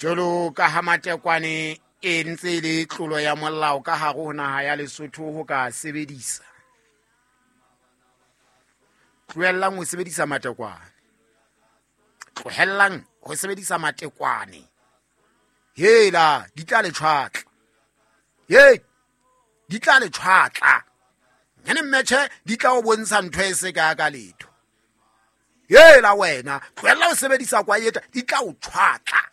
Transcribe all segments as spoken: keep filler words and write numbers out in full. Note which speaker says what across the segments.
Speaker 1: Jolo ka ha matekwane e ntse e le tlolo ya molao ka hare ho naha ya Lesotho ho ka sebedisa. Tlohellang ho sebedisa matekwane. Tlohellang ho sebedisa matekwane. Hela di tla le tshwatla. He di tla le tshwatla. Nyane mmetjhe di tla o bontsha ntho e se ka ka letho. Hela wena tlohella ho sebedisa kwaeta di tla o tshwatla.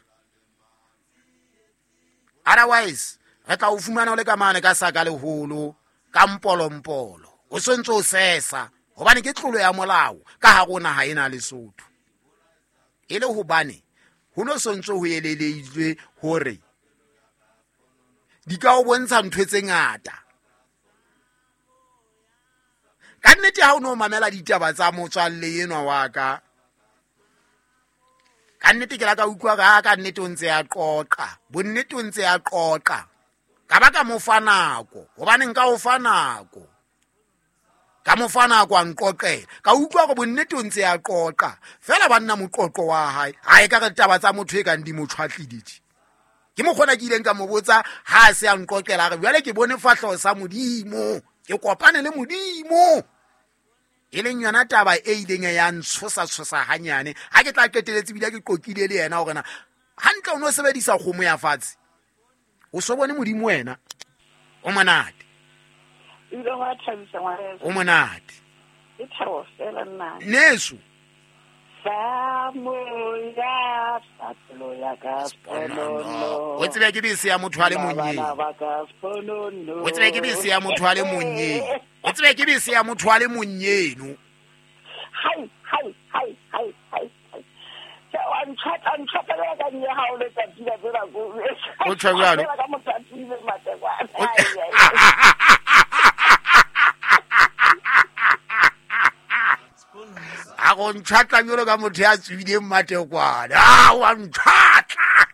Speaker 1: Otherwise re tla o fumana o le ka mane ka saka leholo ka mpolompolo o sontso o sesa hobane ke tlolo ya molao ka hare ho naha ena Lesotho. E le hobane ho no sontso ho eleleitswe hore di ka o bontsha ntho tse ngata. Ka nnete ha o no mamela ditaba tsa motswalle enwa wa ka, ka nnete ke la ka utlwa ka ka nnete o ntse a qoqa, bonnete o ntse a qoqa. Ka ba ka mo fa nako, hobane nka o fa nako. Ka mo fa nako a nqoqela. Ka utlwa hore bonnete o ntse a qoqa. Feela banna moqoqo wa hae, ha e ka re taba tsa motho e kang di mo tshwatlile tje. Ke mokgona ke ileng ka mo botsa ha a se a nqoqela a re jwale ke bone fahleho sa Modimo, ke kopane le Modimo. E leng yona taba e ileng ya ntshosa tshosa hanyane ha ke tla qeteletse bile ke qoqile le yena hore na hantle o no sebedisa kgomo ya fatshe o so bone Modimo wena. O monate.
Speaker 2: Ile wa thabisa ngwaneso.
Speaker 1: O monate.
Speaker 2: Ke thabo fela nna.
Speaker 1: Neso.
Speaker 2: Sa moya sa pelo ya ka sponono.
Speaker 1: O tsebe ke bese ya motho a le monnye. O tsebe ke bese ya motho a le monnye. O tsebe ke bese ya motho a le monnye no.
Speaker 2: Hai hai hai hai hai. Sa wa ntshata ntshata le ka nne ha o le tsatsi la tsela go.
Speaker 1: O tjho jwalo.
Speaker 2: Ka motho a tsile matekwane.
Speaker 1: A go ntshwatla jwalo ka motho ya tswileng matekwane. A wa ntshwatla.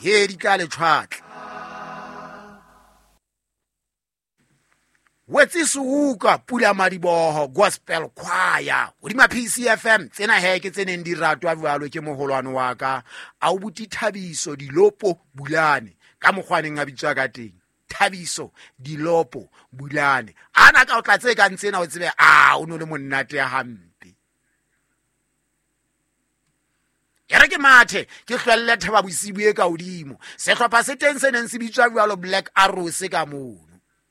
Speaker 1: He di tla le tshwatla. Wetse suka pula madiboho gospel choir hodima P C F M tsena he ke tse neng di ratwa jwalo ke moholwane wa ka a o buti Thabiso Dilopo Bulane ka mokgwaneng a bitswa ka teng. Thabiso Dilopo Bulane ana ka o tla tse ka ntsena o tsebe a o no le monnate ya hampe. E re ke mathe ke hlwelle thaba bosibu e ka hodimo sehlopha se teng se neng se bitswa jwalo Black Arrows ka mono.